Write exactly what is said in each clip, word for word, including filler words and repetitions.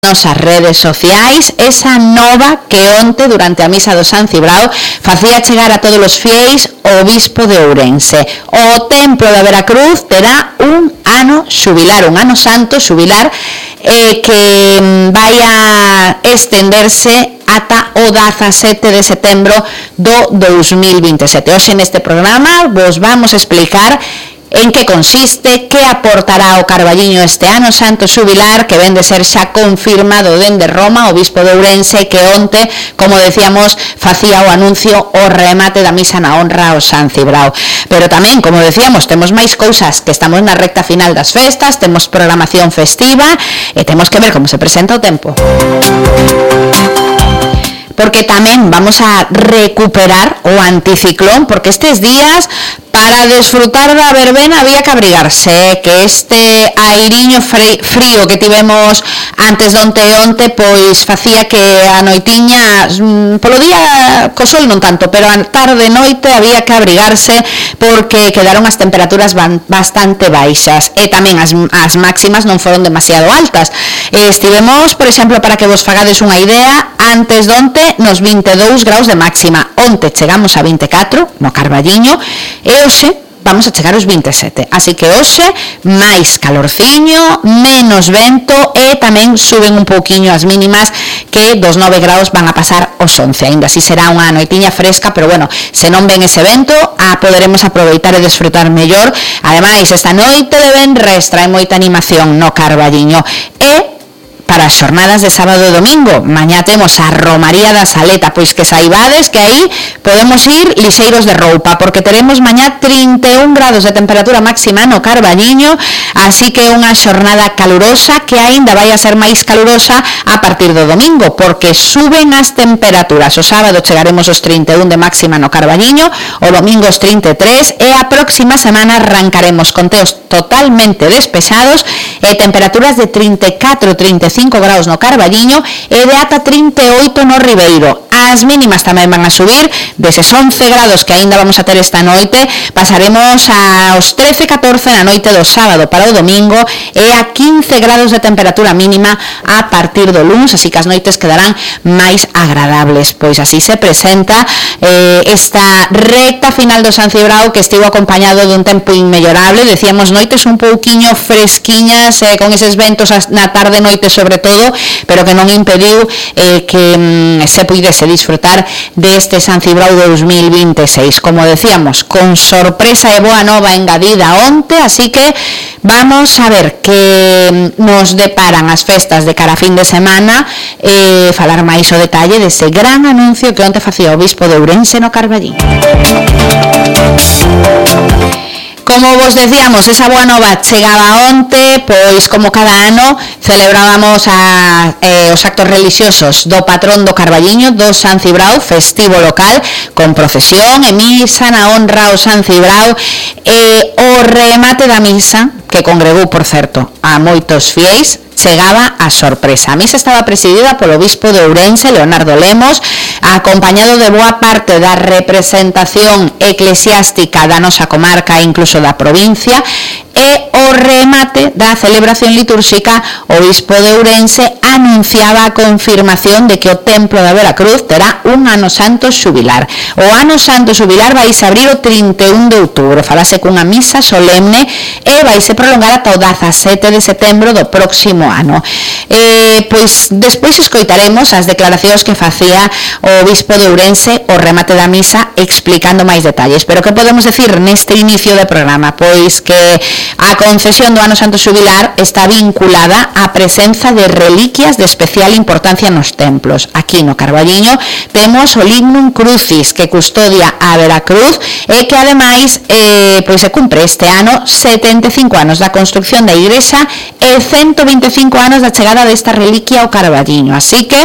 nosas redes sociais esa nova que onte durante a misa do San Cibrao facía chegar a todos os fiéis o obispo de Ourense. O templo da Veracruz terá un ano xubilar, un ano santo xubilar eh, que vai a estenderse ata o dezasete de setembro do dous mil vinte e sete. Hoxe neste programa vos vamos a explicar en que consiste, que aportará o Carballiño este ano santo xubilar, que ven de ser xa confirmado dende Roma, o obispo de Ourense, que onte, como decíamos, facía o anuncio o remate da misa na honra ao San Cibrao. Pero tamén, como decíamos, temos máis cousas, que estamos na recta final das festas, temos programación festiva e temos que ver como se presenta o tempo. Porque tamén vamos a recuperar o anticiclón, porque estes días para desfrutar da verbena había que abrigarse, que este airiño frío que tivemos antes de onte e onte, pois facía que a noitiña, polo día co sol non tanto, pero a tarde e noite había que abrigarse porque quedaron as temperaturas bastante baixas e tamén as, as máximas non foron demasiado altas. Estivemos, por exemplo, para que vos fagades unha idea, antes de onte nos vinte e dous graus de máxima, onte chegamos a vinte e catro no Carballiño e hoxe vamos a chegar aos vinte e sete, así que hoxe máis calorciño, menos vento e tamén suben un pouquiño as mínimas, que dos nove graus van a pasar aos once, ainda así será unha noitiña fresca, pero bueno, se non ven ese vento, a poderemos aproveitar e desfrutar mellor. Ademais, esta noite de venres trae moita animación no Carballiño e para as xornadas de sábado e domingo, mañá temos a Romaría da Saleta, pois que saibades que aí podemos ir lixeiros de roupa, porque teremos mañá trinta e un grados de temperatura máxima no Carballiño, así que unha xornada calurosa que aínda vai a ser máis calurosa a partir do domingo, porque suben as temperaturas. O sábado chegaremos aos trinta e un de máxima no Carballiño, o domingo aos trinta e tres e a próxima semana arrancaremos con teos totalmente despexados e temperaturas de trinta e catro a trinta e cinco graus no Carballiño e de ata trinta e oito no Ribeiro. As mínimas tamén van a subir, deses once grados que aínda vamos a ter esta noite, pasaremos aos trece a catorce na noite do sábado para o domingo e a quince grados de temperatura mínima a partir do luns, así que as noites quedarán máis agradables. Pois así se presenta eh, esta recta final do San Cibrao, que estivo acompañado dun tempo inmellorable, decíamos noites un pouquiño fresquiñas, eh, con eses ventos na tarde noite sobre todo, pero que non impediu eh, que mm, se puidese disfrutar deste San Cibrao dous mil vinte e seis, como decíamos, con sorpresa e boa nova engadida onte, así que vamos a ver que nos deparan as festas de cara a fin de semana e falar máis o detalle dese gran anuncio que onte facía o obispo de Ourense no Carballiño. Como vos decíamos, esa boa nova chegaba onte, pois como cada ano celebrábamos a, eh, os actos religiosos do patrón do Carballiño, do San Cibrao, festivo local, con procesión e misa na honra ao San Cibrao e o remate da misa, que congregou, por certo, a moitos fiéis, chegaba a sorpresa. A misa estaba presidida polo obispo de Ourense, Leonardo Lemos, acompañado de boa parte da representación eclesiástica da nosa comarca e incluso da provincia, e o remate da celebración litúrxica, o obispo de Ourense anunciaba a confirmación de que o templo da Veracruz terá un ano santo xubilar. O ano santo xubilar vai se abrir o trinta e un de outubro, falase cunha misa solemne e vai se prolongar ata o dezasete de setembro do próximo ano. Eh, pois despois escoitaremos as declaracións que facía o obispo de Ourense o remate da misa explicando máis detalles, pero que podemos decir neste inicio de programa? Pois que a concesión do ano santo xubilar está vinculada á presenza de reliquias de especial importancia nos templos. Aquí no Carballiño temos o Lignum Crucis, que custodia a Veracruz e que ademais eh, pois se cumpre este ano setenta e cinco anos da construcción da igrexa e ciento vinte e cinco anos da chegada desta reliquia ao Carballiño, así que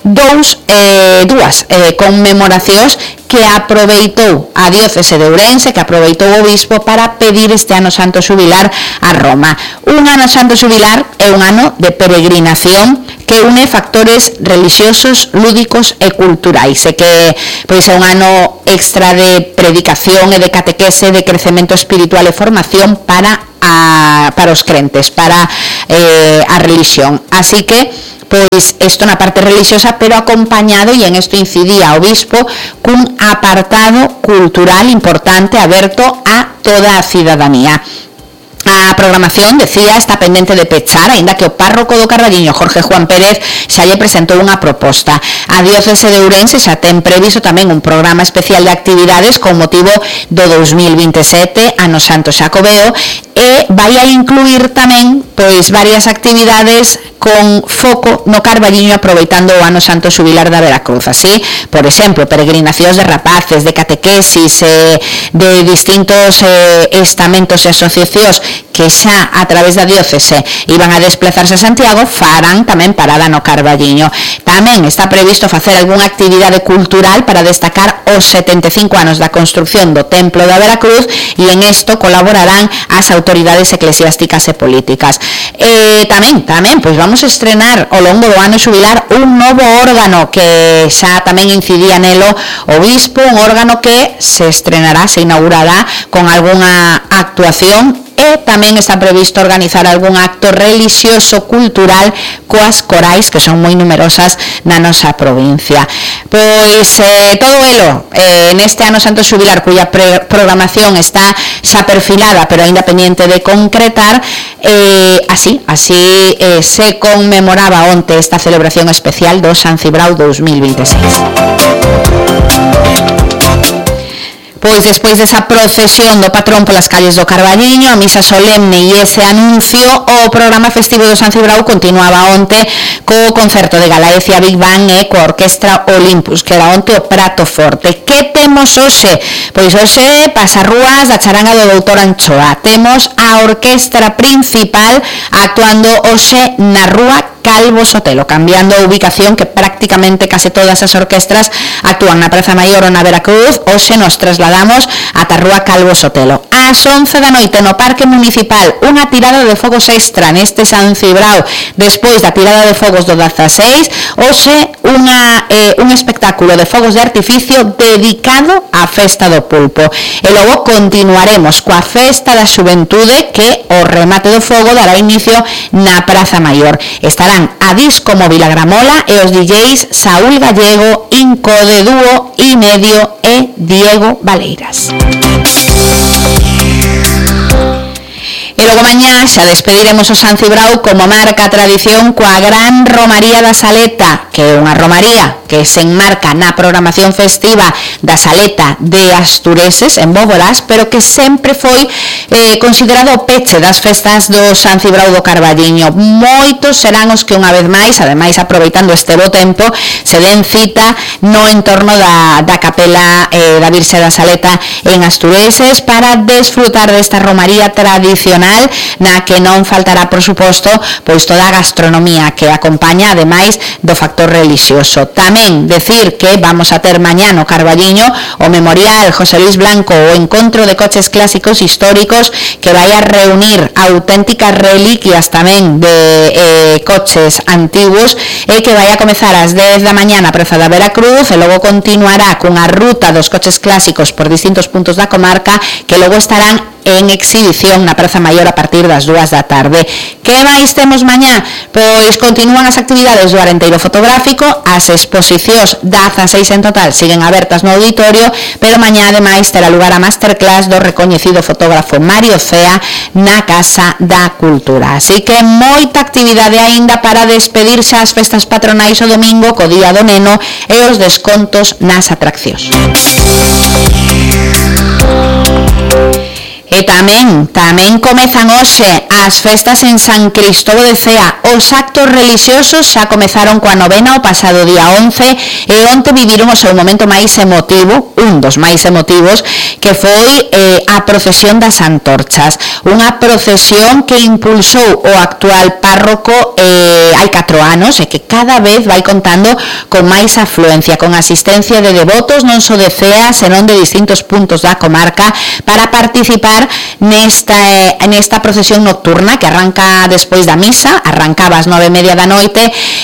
dous, eh, dúas eh, conmemoracións que aproveitou a diócese de Ourense, que aproveitou o obispo para pedir este ano santo xubilar a Roma. Un ano santo xubilar é un ano de peregrinación que une factores religiosos, lúdicos e culturais, e que pois é un ano extra de predicación e de catequese, de crecemento espiritual e formación para a, para os crentes, para eh, a religión. Así que pois isto na parte religiosa, pero acompañado, e en isto incidía o bispo, cun apartado cultural importante aberto a toda a cidadanía. A programación, decía, está pendente de pechar, aínda que o párroco do Carballiño, Jorge Juan Pérez, xa lle presentou unha proposta. A diocese de Ourense xa ten previsto tamén un programa especial de actividades con motivo do dous mil vinte e sete, ano Santo Xacobeo, e vai a incluir tamén pois varias actividades con foco no Carballiño, aproveitando o ano Santo Xubilar da Veracruz. Así, por exemplo, peregrinacións de rapaces, de catequesis, eh, de distintos eh, estamentos e asociacións que xa a través da diócese iban a desplazarse a Santiago, farán tamén parada no Carballiño. Tamén está previsto facer algunha actividade cultural para destacar os setenta e cinco anos da construcción do Templo da Veracruz, e en isto colaborarán as autoridades eclesiásticas e políticas. Eh, tamén, tamén, pois vamos a estrenar ao longo do ano xubilar un novo órgano que xa tamén incidía nelo o bispo, un órgano que se estrenará, se inaugurará con algunha actuación, e tamén está previsto organizar algún acto religioso cultural coas corais, que son moi numerosas na nosa provincia. Pois eh, todo elo eh, neste ano Santo Xubilar, cuya pre- programación está xa perfilada, pero aínda pendiente de concretar, eh, así, así eh, se conmemoraba onte esta celebración especial do San Cibrao dous mil vinte e seis. Pois despois desa procesión do patrón polas calles do Carballiño, a misa solemne e ese anuncio, o programa festivo do San Cibrao continuaba onte co concerto de Galaecia Big Bang e coa Orquestra Olympus, que era onte o prato forte. Que temos hoxe? Pois hoxe pasarrúas da charanga do doutor Anchoa. Temos a orquestra principal actuando hoxe na rúa Calvo Sotelo, cambiando a ubicación, que prácticamente case todas as orquestras actúan na Praza Maior ou na Veracruz. Hoxe nos trasladamos ata a rúa Calvo Sotelo. Ás once da noite no Parque Municipal, unha tirada de fogos extra neste San Cibrao, despois da tirada de fogos do dezaseis, hoxe unha, eh, un espectáculo de fogos de artificio dedicado á festa do pulpo. E logo continuaremos coa festa da xuventude, que o remate do fogo dará inicio na Praza Maior. Estarán a Disco Móvil a Gramola e os D Js Saúl Gallego, Inco de Dúo e Medio e Diego Valeiras. E logo mañá xa despediremos o San Cibrao como marca a tradición coa gran Romaría da Saleta, que é unha romaría que se enmarca na programación festiva da Saleta de Astureses, en Bóbolas, pero que sempre foi eh, considerado o peche das festas do San Cibrao do Carballiño. Moitos serán os que unha vez máis, ademais aproveitando este bo tempo, se den cita no entorno da, da capela eh, da Virxe da Saleta en Astureses para desfrutar desta romaría tradicional, na que non faltará, por suposto, pois toda a gastronomía que acompaña, ademais do factor religioso. Tamén decir que vamos a ter mañá no Carballiño o Memorial José Luis Blanco, o encontro de coches clásicos históricos, que vai a reunir auténticas reliquias tamén de eh, coches antiguos, e que vai a comezar ás dez da mañá na Praza da Veracruz, e logo continuará cunha ruta dos coches clásicos por distintos puntos da comarca, que logo estarán en exhibición na Praza Maior a partir das dúas da tarde. Que máis temos mañá? Pois continúan as actividades do Arenteiro Fotográfico, as exposicións dezaseis en total siguen abertas no auditorio, pero mañá ademais terá lugar a masterclass do recoñecido fotógrafo Mario Cea na Casa da Cultura. Así que moita actividade aínda para despedirse as festas patronais o domingo co Día do Neno e os descontos nas atraccións. E tamén, tamén comezan hoxe as festas en San Cristóbal de Cea. Os actos religiosos xa comezaron coa novena o pasado día once, e onte viviron o seu momento máis emotivo, un dos máis emotivos, que foi eh, a procesión das antorchas. Unha procesión que impulsou o actual párroco eh, hai catro anos, e que cada vez vai contando con máis afluencia, con asistencia de devotos non só de Cea, senón de distintos puntos da comarca, para participar participar nesta, eh, nesta procesión nocturna que arranca despois da misa, arrancaba ás nove e media da noite,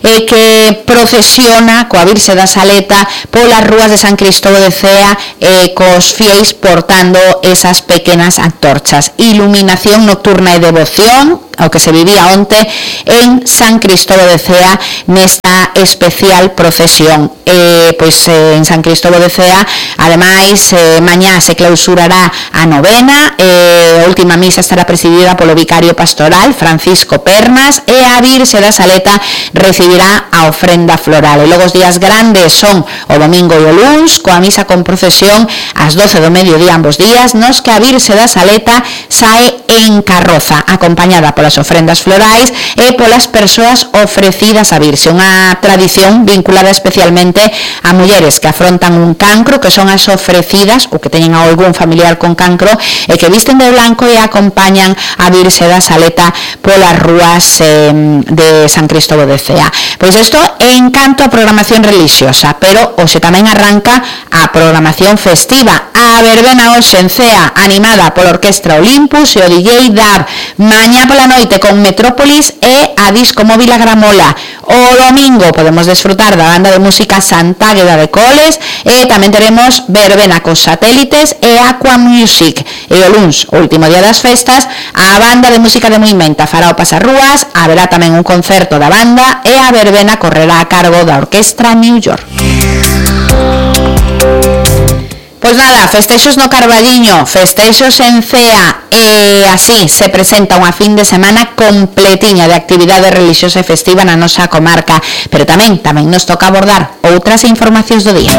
e que procesiona coa Virxe da Saleta polas rúas de San Cristóbal de Cea, e cos fieis portando esas pequenas antorchas. Iluminación nocturna e devoción, o que se vivía onte en San Cristóbal de Cea nesta especial procesión. Eh, pois eh, en San Cristóbal de Cea, ademais, eh, mañá se clausurará a novena, eh, a última misa estará presidida polo vicario pastoral Francisco Pernas, e a Virxe da Saleta recibirá a ofrenda floral. E logo os días grandes son o domingo e o luns, coa misa con procesión ás doce do mediodía ambos días, nos que a Virxe da Saleta sae en carroza, acompañada polas ofrendas florais e polas persoas ofrecidas á Virxe, unha tradición vinculada especialmente a mulleres que afrontan un cancro, que son as ofrecidas ou que teñen a algún familiar con cancro e que visten de blanco e acompañan a Virxe da Saleta polas rúas eh, de San Cristóbal de Cea. Pois isto en canto a programación religiosa, pero hoxe tamén arranca a programación festiva. A verbena hoxe en Cea, animada pola Orquestra Olympus e o D J Dab. Mañá pola noite con Metrópolis e a Disco Móvil a Gramola. O domingo podemos desfrutar da banda de música Santágueda de Coles, e tamén teremos verbena cos satélites e Aqua Music. E o luns, o último día das festas, a banda de música de Moimenta fará o pasarrúas, haberá tamén un concerto da banda e a verbena correrá a cargo da Orquestra New York. Pois nada, festexos no Carballiño, festexos en Cea, e así se presenta unha fin de semana completiña de actividade religiosa e festiva na nosa comarca, pero tamén tamén nos toca abordar outras informacións do día.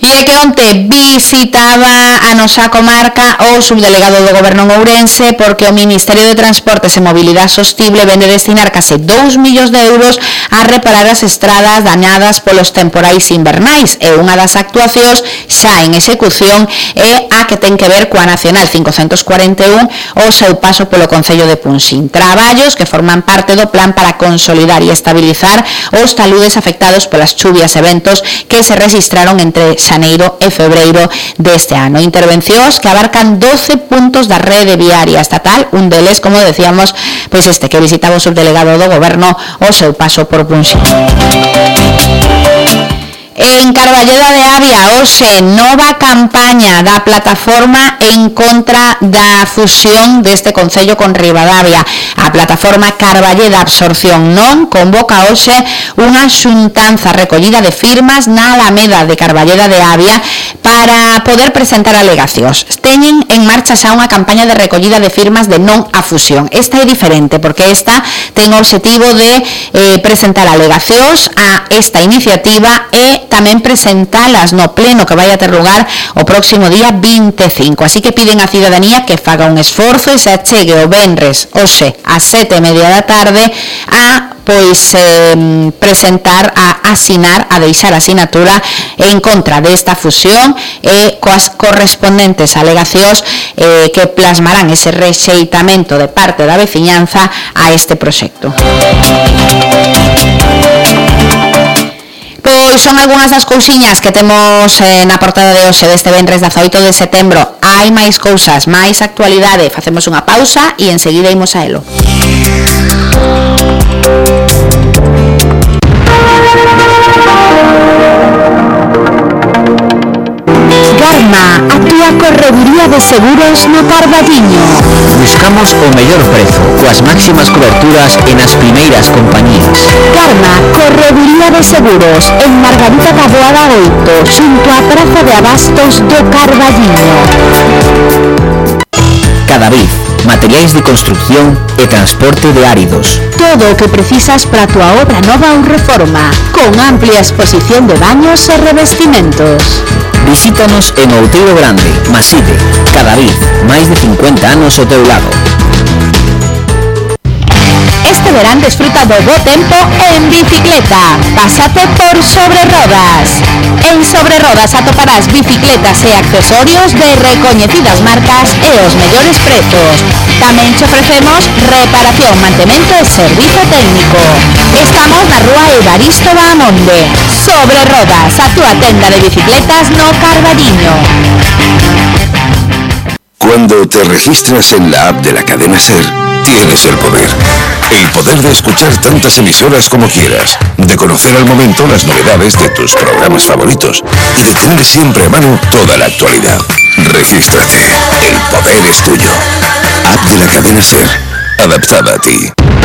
E é que onte visitaba a nosa comarca o subdelegado do Goberno en Ourense, porque o Ministerio de Transportes e Mobilidade Sostible vende destinar case dous millóns de euros a reparar as estradas dañadas polos temporais invernais, e unha das actuacións xa en execución é a que ten que ver coa Nacional cincocentos cuarenta e un, o seu paso polo Concello de Punxín. Traballos que forman parte do plan para consolidar e estabilizar os taludes afectados polas chuvias e ventos que se registraron entre xaneiro e febreiro deste ano. Intervencións que abarcan doce puntos da rede viaria estatal, un deles, como decíamos, pois este que visitaba o subdelegado do Goberno o seu paso por Punxín. En Carballeda de Avia, hoxe, nova campaña da plataforma en contra da fusión deste concello con Ribadavia. A plataforma Carballeda Absorción Non convoca hoxe unha xuntanza recollida de firmas na Alameda de Carballeda de Avia para poder presentar alegacións. Teñen en marcha xa unha campaña de recollida de firmas de non a fusión. Esta é diferente porque esta ten o obxectivo de eh, presentar alegacións a esta iniciativa e tamén presentalas no pleno que vai a ter lugar o próximo día vinte e cinco. Así que piden á cidadanía que faga un esforzo e se achegue o venres hoxe ás sete e media da tarde a pois eh, presentar, a asinar, a deixar a asinatura en contra desta fusión e coas correspondentes alegacións eh, que plasmarán ese rexeitamento de parte da veciñanza a este proxecto. Pois son algunhas das cousiñas que temos eh, na portada de hoxe deste venres dezaoito de setembro. Hai máis cousas, máis actualidade. Facemos unha pausa e enseguida imos a elo. Garma, a túa correduría de seguros no Carballiño. Buscamos o mellor prezo, coas máximas coberturas e nas primeiras compañías. Garma, correduría de seguros, en Margarita da Boada oito, xunto á Praza de Abastos do Carballiño. Cadavid, materiais de construcción e transporte de áridos. Todo o que precisas para a túa obra nova ou reforma, con amplia exposición de baños e revestimentos. Visítanos en Outeiro Grande, Maside, Cadavid, máis de cincuenta anos ao teu lado. Este verán desfruta do bo tempo en bicicleta. Pásate por Sobre Rodas. En Sobre Rodas atoparás bicicletas e accesorios de recoñecidas marcas e os mellores prezos. Tamén te ofrecemos reparación, mantemento e servizo técnico. Estamos na rúa Evaristo Bahamonde. Sobre Rodas, a túa tenda de bicicletas no Carballiño. Cuando te registras en la app de la cadena SER, tienes el poder. El poder de escuchar tantas emisoras como quieras, de conocer al momento las novedades de tus programas favoritos y de tener siempre a mano toda la actualidad. Regístrate. El poder es tuyo. App de la cadena SER. Adaptada a ti.